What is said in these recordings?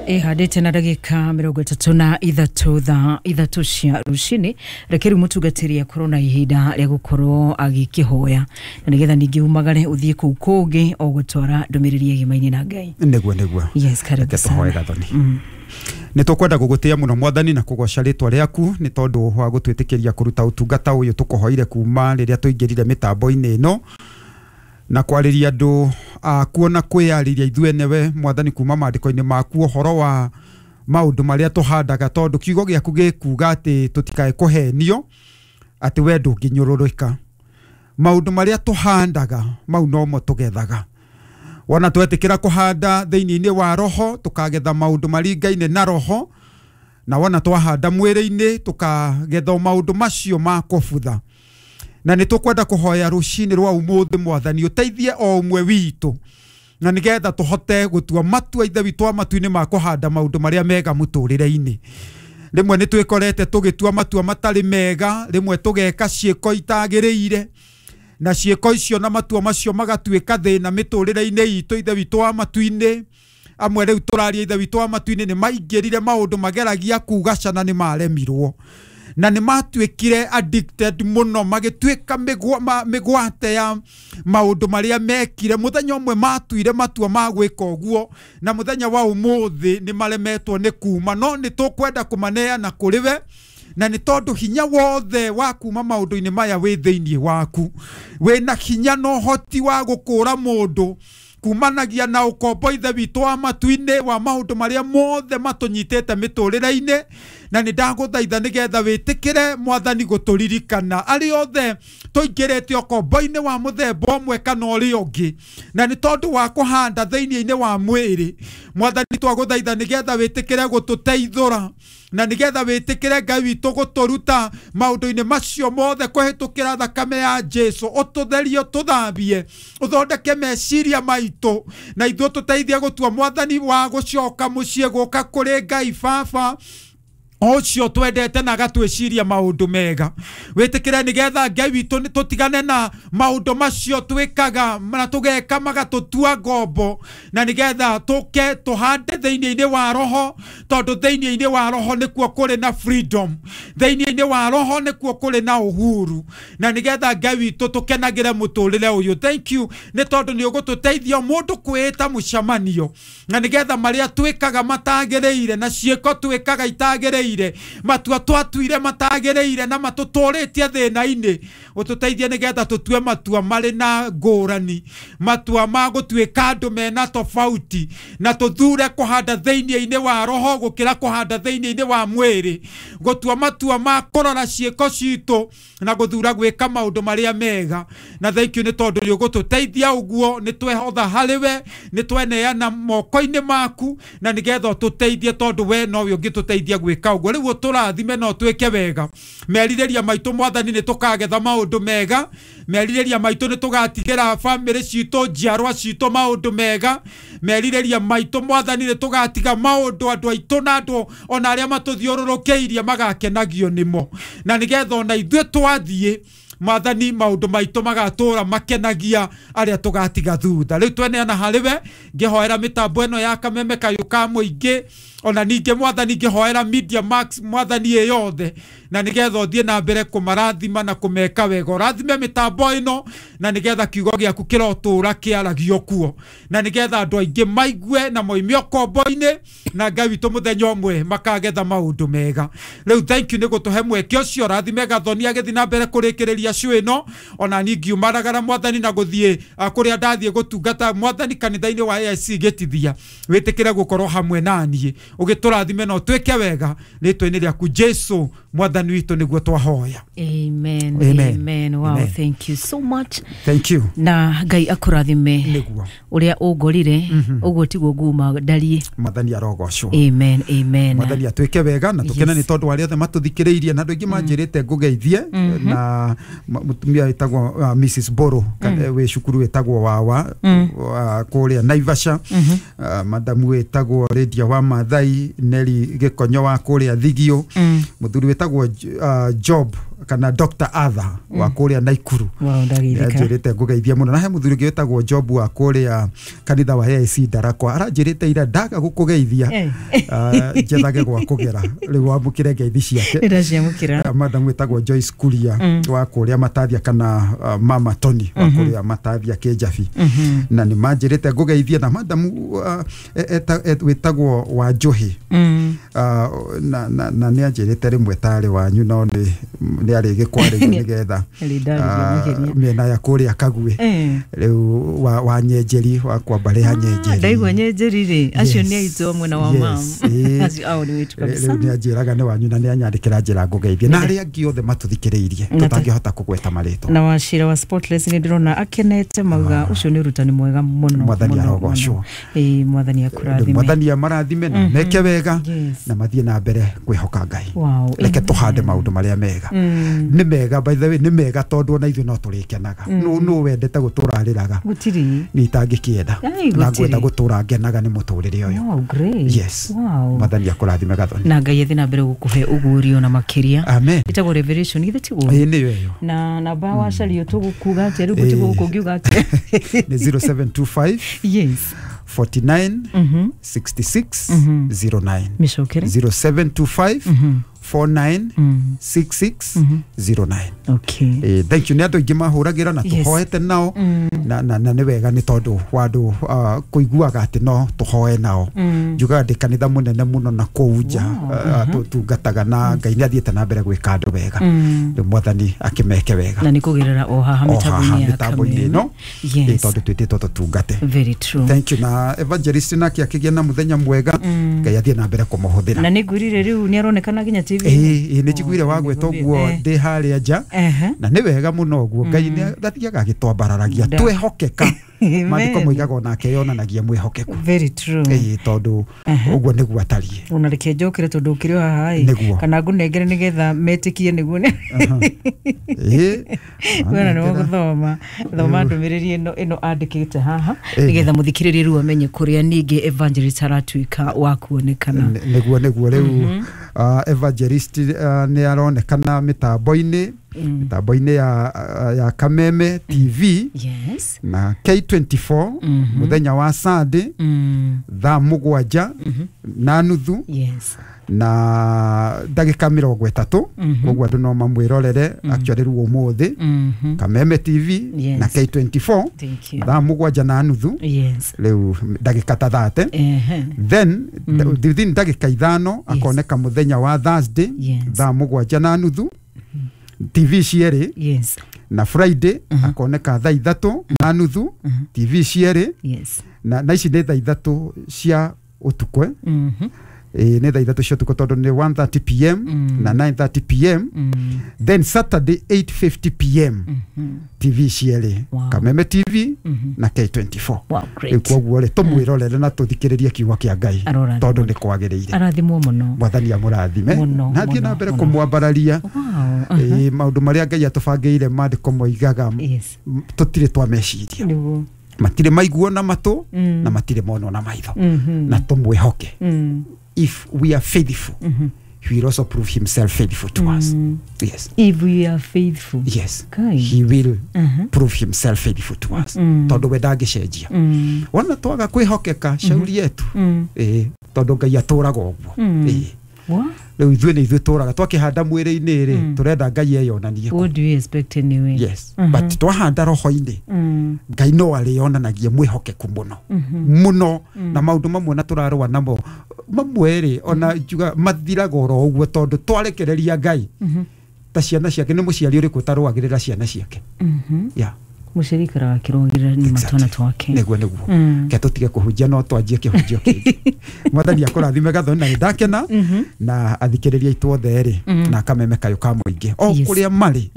Ihandĩte na ndagĩka 33 thaa 3 cia rũcinĩ. Reke rĩu mũtungatĩri akorwo na ihinda rĩa gũkorwo agĩkĩhoya na nĩgetha ningĩ umagare ũthiĩ kũu kũngĩ o gũtwara ndũmĩrĩri ĩgimaine na Ngai. Nĩguo nĩguo. Yes, karibu Reke tũhoe sana. Gathoni. Nĩ tũkwenda gũgũtĩa mũno Mwathani na kũgoca rĩtwa rĩaku nĩ tondũ wa gũtwĩtĩkĩria kũruta ũtungata ũyũ tũkũhoire kuma rĩrĩa tũingĩrire mĩtambo-inĩ ĩno na kwarĩria andũ akuo na kwĩyarĩria ithuĩ enewe Mwathani kuma maandĩko-inĩ maku ũhoro wa maũndũ marĩa tũhandaga tondũ kiugo gĩaku gĩkuga atĩ tũtikae kũhenio atĩ we ndũngĩnyũrũrĩka. Maũndũ marĩa tũhandaga mau nomo tũgethaga. Wona twetĩkĩra kũhanda thĩinĩ-inĩ wa roho tũkagetha maũndũ maringaine na roho, na wona twahanda mwĩrĩ-inĩ tũkagetha maũndũ macio ma kũbutha. Na nĩ tũkwenda kũhoya rũcinĩ rwa ũmũthĩ Mwathani ũteithie o ũmwe witũ na nĩgetha tũhote gũtua matua Ithe witũ wa matu-inĩ ma kũhanda maũndũ marĩa mega mũtũrĩre-inĩ. Rĩmwe nĩ twĩkorete tũgĩtua matua matarĩ mega, rĩmwe tũgeka ciĩko itagĩrĩire, na ciĩko icio na matua macio magatuĩka thĩna mĩtũrĩre-inĩ itũ Ithe witũ wa matu-inĩ. Amwe rĩu tũraria Ithe witũ wa matu-inĩ nĩ maingĩrire maũndũ mageragia kugacana nĩ maremirwo na nĩ matuĩkire addicted mũno, magĩtuĩka mĩgwate ya maũndũ marĩa mekire. Mũthenya ũmwe matuire matua ma gwĩka ũguo na mũthenya wa ũmũthĩ nĩ maremetwo nĩ kuma, no nĩ tũkwenda kũmaneana kũrĩ we, na nĩ tondũ hinya wothe wa kuma maũndũ-inĩ maya wĩ thĩinĩ waku. Wĩna hinya na ũhoti wa gũkũra mũndũ kumanagia na ũkombo Ithe witũ wa matu-inĩ wa maũndũ marĩa mothe matũnyitĩte mĩtũrĩre-inĩ. Na nĩ ndagũthaitha nĩgetha wĩtĩkĩre Mwathani gũtũririkana arĩa othe tũingĩrĩte ũkombo-inĩ wa mũthemba ũmwe kana ũrĩa ũngĩ, na nĩ tondũ wa kũhanda thĩinĩ-inĩ wa mwĩrĩ. Mwathani twagũthaitha nĩgetha wĩtĩkĩre gũtũteithũra na nĩgetha wĩtĩkĩre Ngai witũ gũtũruta maũndũ-inĩ macio mothe kũhĩtũkĩra thakame ya Jesu. Ũtũtherie, ũtũthambie, ũthondeke meciria maitũ na ithuĩ tũteithie gũtua Mwathani wa gũcoka mũciĩ gũka kũrĩ Ngai Baba ũcio twendete na agatwĩciria maũndũ mega. Wĩtĩkĩre nĩgetha Ngai witũ tũtigane na maũndũ macio twĩkaga na tũgeka magatũtua ngombo, na nĩgetha tũke tũhande thĩinĩ-inĩ wa roho, tondũ thĩinĩ-inĩ wa roho nĩkuo kũrĩ na freedom, thĩinĩ-inĩ wa roho nĩkuo kũrĩ na uhuru, na nĩgetha Ngai witũ tũkenagĩre mũtũrĩre ũyũ. Thank you nĩ tondũ nĩ ũgũtũteithia mũndũ kwĩĩta mũcemanio, na nĩgetha marĩa twĩkaga matagĩrĩire na ciĩko twĩkaga itagĩrĩire, matua twatuire matagĩrĩire na matũtũrĩtie thĩna-inĩ, ũtũteithie nĩgetha tũtue matua marĩ na ngũrani, matua ma gũtuĩka andũ mena tofauti, na tũthure kũhanda thĩinĩ-inĩ wa roho gũkĩra kũhanda thĩinĩ-inĩ wa mwĩrĩ, gũtua matua ma kũrora ciĩko citũ na gũthura gwĩka maũndũ marĩa mega. Na thank you nĩ tondũ nĩ ũgũtũteithia ũguo, nĩ twehotha harĩ we, nĩ tweneana moko-inĩ maku, na nĩgetha ũtũteithie tondũ we nowe ũngĩtũteithia gwĩka ũguo. Rĩu ũtũrathime na ũtwĩke wega. Merirĩria maitũ Mwathani nĩ tũkagetha maũndũ mega, merirĩria maitũ nĩ tũgatigĩra bamĩrĩ citũ, njiarwa citũ maũndũ mega, merirĩria maitũ Mwathani nĩ tũgatiga maũndũ andũ aitũ na andũ ona arĩa matũthiũrũrũkĩirie magakenagio nĩmo, na nĩgetha ona ithuĩ twathiĩ Mwathani maũndũ maitũ magatũra makenagia arĩa tũgatiga thutha. Rĩu tweneana harĩ we, ngĩhoera mĩtambo ĩno ya Kameme Kayũ ka mũingĩ, ona ningĩ Mwathani ngĩhoera Media Max Mwathani ĩ yothe, na nĩgetha ũthiĩ na mbere kũmarathima na kũmeka wega. Ũrathime mĩtambo ĩno na nĩgetha kiugo gĩaku kĩrotũra kĩaragio kuo, na nĩgetha andũ aingĩ maigue na moime ũkombo-inĩ, na Ngai witũ mũthenya ũmwe makagetha maũndũ mega. Rĩu thank you nĩ gũtũhe mweke ũcio. Ũrathime Gathoni agĩthiĩ na mbere kũrĩkĩrĩria show ĩno, ona niĩ ngiumaragara Mwathani na gũthiĩ kũrĩa ndathiĩ gũtungata Mwathani kanitha-inĩ wa AIC Gĩtithia, wĩtĩkĩre gũkorwo hamwe na niĩ ũgĩtũrathime na ũtwĩke wega rĩtwa-inĩ rĩaku Jesu Mwathani witũ nĩguo twahoya. Amen. Amen. Amen. Wow, Amen. thank you so much. Thank you. Na Ngai akũrathime. Nĩguo. Ũrĩa ũngorire ũguo tiguo nguma ndariĩ. Mwathani arogocwo. Amen. Amen. Mwathani atwĩke wega na tũkene Yes. nĩ tondũ arĩa othe matũthikĩrĩirie na andũ aingĩ manjĩrĩte ngũgeithie na mũtumia wĩtagwo Mrs Boro wĩ cukuru wĩtagwo Wawa kũrĩa Naivasha, madamu wĩtagwo Lydia wa Mathai, Neri Gĩkonyo wa kũrĩa Thigio, mũthuri wĩtagwo Job kana Dr. Arthur wa kũrĩa Naikuru. Wow, ndageithĩka. Anjĩrĩte ngũgeithia mũno. Na he mũthuri ũngĩ wĩtagwo Job wa kũrĩa kanitha wa AIC Ndarakwa, aranjĩrĩte ira ndaga gũkũgeithia njethage gwa kũgera, rĩu wamũkĩre ngeithi ciake. Nĩ ndaciamũkĩra. Madam wĩtagwo Joyce Kuria wa kũrĩa Matathia, kana Mama Tony wa kũrĩa Matathia Kĩnjabi, na nĩ manjĩrĩte ngũgeithie. Na madam wĩtagwo wa Njohi, na nĩ anjĩrĩte rĩmwe tarĩ wanyu, no nĩ arĩgĩkwarĩria nĩgetha mĩena ya kũrĩa Kagwe rĩu wa Nyenjeri, wa kwamba rĩa Nyenjeri. Ndaigua Nyenjeri rĩ, acio nĩ aitũ mwena wa mam, acio ao nĩ witũ kabisa. Rĩu nĩ anjĩraga nĩ wanyu, na nĩ anyandĩkĩra njĩra ngũgeithie, na arĩa angĩ othe matũthikĩrĩirie tũtangĩhota kũgweta marĩtwa. Na Wachira wa Spotless nĩ ndĩrona akenete, mauga ũcio nĩ ũrutani mwega mũno. Mwathani arogocwo. Mwathani akũrathime. Mwathani amarathime na meke wega na mathiĩ na mbere kwĩhoka Ngai. Reke tũhande maũndũ marĩa mega. Nĩ mega, by the way, nĩ mega tondũ ona ithuĩ no tũrĩkenaga. Nũ wendete gũtũra arĩraga? Gũtirĩ. Niĩ itangĩkĩenda. Na ngwenda gũtũra ngenaga nĩ mũtũrĩre ũyũ. Wow, great. Yes. Mwathani akũrathime Gathoni. Na Ngai athiĩ na mbere gũkũhe ũguũrio na makĩria. Amen. Ĩtagwo Revelation, githĩ tiguo? Ĩĩ nĩyo ĩyo. Na namba wacario tũgũkuga atĩa rĩu, gũtigwo gũkũ ngiuga atĩa? Nĩ 0725 Yes. 49 66 09. Mĩcokere. 0725 49 66 09. Okay. Thank you. Nĩ andũ aingĩ mahũragĩra na tũhoete nao, na nĩ wega nĩ tondũ wa andũ kũiguaga atĩ no tũhoe nao. Njugaga ndĩ kanitha mũnene mũno na kũu nja tũtungataga, na Ngai nĩ athiĩte na mbere gwĩka andũ wega. Rĩu Mwathani akĩmeke wega. Na nĩ kũgerera o haha mĩtambo-inĩ ĩno, tondũ twĩtĩtwo tũtungate. Very true. Thank you. Na evangelist nake akĩgĩa na mũthenya mwega, Ngai athiĩ na mbere kũmũhũthĩra. Na nĩ ngwĩrire rĩu nĩ aronekana nginya TV. Ĩĩ nĩ njiguire wagweta ũguo ndĩ harĩa nja, na nĩ wega mũno ũguo. Ngai nĩ athiaga agĩtwambararagia twehokeka. Maandĩko moigaga onake yonanagia mwĩhokeku. Very true. Ĩĩ tondũ ũguo nĩguo atariĩ. Ona reke njokere tondũ ũkĩrĩ o haha ĩ, kana ngũnengere nĩgetha metĩkie nĩguo. Ĩĩ. Wena nĩ gũthoma thoma ndũmĩrĩri ĩno andĩkĩte haha nĩgetha mũthikĩrĩrie rĩu amenye kũrĩa ningĩ evangelist aratuĩka wa kuonekana. Nĩguo nĩguo rĩu evangelist nĩ aronekana mĩtambo-inĩ ya Kameme TV. Yes. Na K24 mũthenya wa Sunday thaa 7:30. Yes. Na ndagĩka 30, koguo andũ no mamwĩrorere actually rĩu ũmũthĩ Kameme TV na K24 thaa 7:30. Yes. Rĩu ndagĩka ta 30. Then within ndagĩka 5 akoneka mũthenya wa Thursday thaa 7:30 TV cierĩ. Yes. Na Friday akoneka thaa 3:30 TV cierĩ. Yes. Na ici nĩ thaa 3 cia ũtukũ. Nĩ thaa 3 cia ũtukũ tondũ nĩ 1:30 pm na 9:30 pm. Then Saturday 8:50 pm TV cierĩ, Kameme TV na K24. Wow, great. Koguo rĩ tũmwĩrorere na tũthikĩrĩrie kiugo kĩa Ngai tondũ nĩ kwagĩrĩire. Arathimwo mũno. Mwathani amũrathime na athiĩ na mbere kũmwambararia. Maũndũ marĩa Ngai atũbangĩire maandĩko moigaga tũtirĩ twameciria. Matirĩ maiguo na matũ na matirĩ monwo na maitho, na tũmwĩhoke. If we are faithful, he will also prove himself faithful to us. Yes. If we are faithful. Yes. He will prove himself faithful to us. Tondũ we ndangĩcenjia. Wona twaga kwĩhokeka shauri yetu. Tondũ Ngai atũraga ũguo. Rĩu ithuĩ nĩ ithuĩ tũraga twakĩhanda mwĩrĩ-inĩ rĩ, tũrenda Ngai eyonanie. What do you expect anyway? Yes. But twahanda roho-inĩ, Ngai no arĩonanagia mwĩhokeku mũno mũno, na maũndũ mamwe na tũrarũa namo mamwe rĩ, ona njuga mathiraga oro ũguo tondũ twarekereria Ngai ta ciana ciake. Nĩ mũciari ũrĩkũ ũtarũagĩrĩra ciana ciake? Yeah. Mũciari ikaraga akĩrũagĩrĩra nyuma twana twake. Nĩguo nĩguo. Ke tũtige kũhunjia no twanjie kĩhunjio kĩngĩ. Mwathani akũrathime Gathoni, na nĩndakena na athikĩrĩria aitũ othe rĩ, na Kameme kayũ ka mũingĩ o kũrĩa marĩ.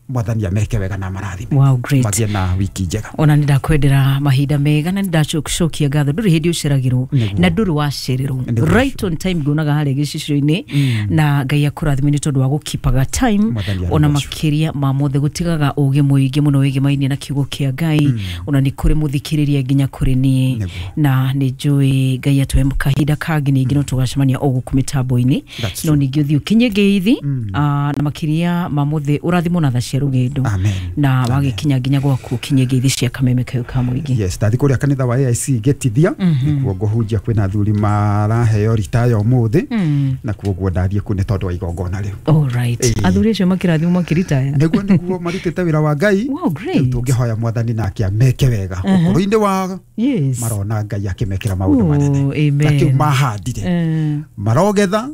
Mwathani ameke wega na marathime. Wow, great. Magie na wiki njega. Ona nĩ ndakwendera mahinda mega na nĩ ndacokia ngatho ndũrĩ hĩndĩ ũceragĩrwo na ndũrĩ wacererwo. Right on time nguonaga harĩa gĩcicio-inĩ na Ngai akũrathime nĩ tondũ wa gũkipaga time ona makĩria ma mothe gũtigaga ũgĩ mũingĩ mũno wĩgĩmainie na kiugo kĩa Ngai ona nĩ kũrĩ mũthikĩrĩria nginya kũrĩ niĩ na nĩ njũĩ Ngai atũhe kahinda kangĩ ningĩ no tũgacemania o gũkũ mĩtambo-inĩ no ningĩ ũthiĩ ũkinye ngeithi na makĩria ma mothe ũrathimwo na tha cia rũgendo na wagĩkinya nginya gwaku ũkinye ngeithi cia Kameme Kayũ ka Mũingĩ. Yes, ndathi kũrĩa kanitha wa AIC Gĩtithia nĩkuo ngũhunjia kwĩna athuri maraheo ritaya ũmũthĩ na kuoguo ndathiĩ kũ nĩ tondũ wa igongona rĩu. All right. Athuri acio makĩrathimwo makĩritaya. Nĩguo marutĩte wĩra wa Ngai. Wow, great. Tũngĩhoya Mwathani nake ameke wega ũkũrũ-inĩ wao. Yes. Marona Ngai akĩmekĩra maũndũ manene. Amen. Na kĩu mahandire marogetha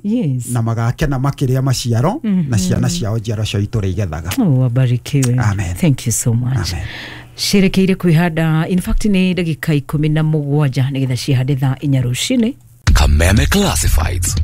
na magakena makĩrĩa maciaro na ciana ciao njiaro cio itũra igethaga. Oh, wabarikiwe. Amen. Thank you so much. Amen. Cirekeire kwihanda in fact nĩ ndagĩka 17 nĩgetha cihande thaa 4 rũcinĩ. Kameme Classifieds.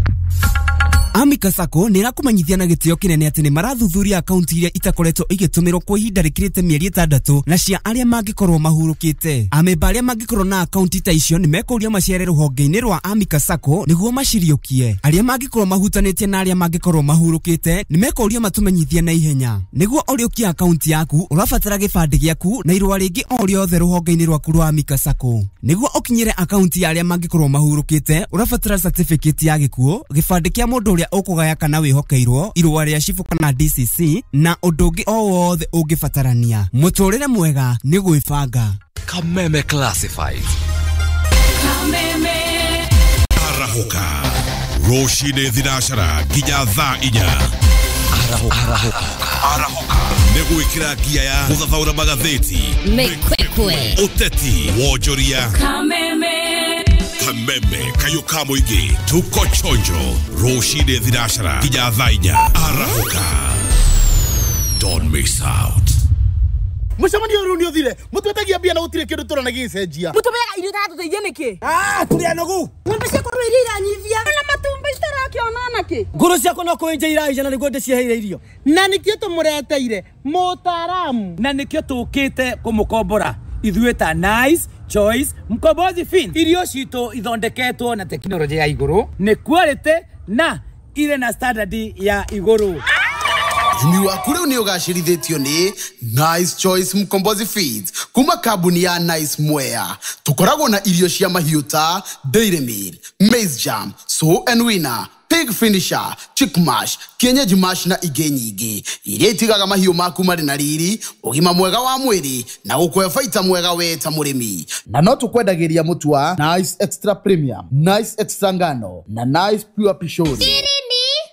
Amika Sacco nä ĩrakũmenyithia na gĩtĩo kĩnene atĩ nĩ marathuthuria akaunti iria itakoretwo igĩtũmĩrwo kwa ihinda rĩkĩrĩte mĩeri 6 na cia arĩa mangĩkorwo mahurũkĩte. Amemba arĩa mangĩkorwo na akaunti ta icio nĩ mekũrio maciare rũhonge-inĩ rwa Amika Sacco nĩguo maciriũkie. Arĩa mangĩkorwo mahutanĩtie na arĩa mangĩkorwo mahurũkĩte nĩ mekũrio matũmenyithie na ihenya. Nĩguo ũrĩũkie akaunti yaku ũrabatara gĩbandĩ gĩaku na irũa rĩngĩ o rĩothe rũhonge-inĩ rwaku rwa Amika Sacco. Nĩguo ũkinyĩre akaunti ya arĩa mangĩkorwo mahurũkĩte ũrabatara certificate ya gĩkuũ, gĩbandĩ kĩa mũndũ ũrĩa ũkũgaya kana wĩhokeirwo, irũa rĩa cibũ kana DCC na ũndũ ũngĩ o wothe ũngĩbatarania. Mũtũrĩre mwega nĩ gwĩbanga. Kameme Classifieds. Kameme. Arahũka rũcinĩ thinacara nginya thaa 4. Arahũka nĩ gwĩkĩra ngia ya gũthathaũra magathĩti, Mĩkwekwe, ũteti, wonjoria. Kameme. Kameme Kayũ ka Mũingĩ tuko chonjo rũcinĩ thinacara nginya thaa 4. Arahũka, don't miss out. Mũcemanio ũyũ nĩ ũthire mũtwetagia mbia na gũtirĩ kĩndũ tũrona gĩgĩcenjia. Mũtũmeaga irio itatũteithia nĩkĩ? Tũrĩ anogu. Ng'ombe ciakwa rĩu iria iranyivia na matumbĩ citarakĩona nakĩ. Ngũrũ ciakwa no kũenja iraija na nĩguo ndĩciheire irio. Na nĩkĩo tũmũreteire mũtaaramu. Na nĩkĩo tũkĩte kũmũkombora ithuĩ ta Nice Choice Mkombozi Fin. Irio citũ ithondeketwo na tekinoronjĩ ya igũrũ, nĩ quality na irĩ na standard ya igũrũ. Ũrĩmi waku rĩu nĩ ũgacĩrithĩtio nĩ Nice Choice Mkombozi Feeds kuma kambuni ya Nice Mwea. Tũkoragwo na irio cia mahiũ ta Dairy Meal, Maize Jam, Sow and Winner, Pig Finisher, Chick Mash, Kienyeji Mash na ingĩ nyingĩ iria itigaga mahiũ maku marĩ na riri, ũgima mwega wa mwĩrĩ na gũkũhe baita mwega we ta mũrĩmi. Na no tũkwendagĩria mũtu wa Nice Extra Premium, Nice Extra Ngano na Nice Pure Pishori.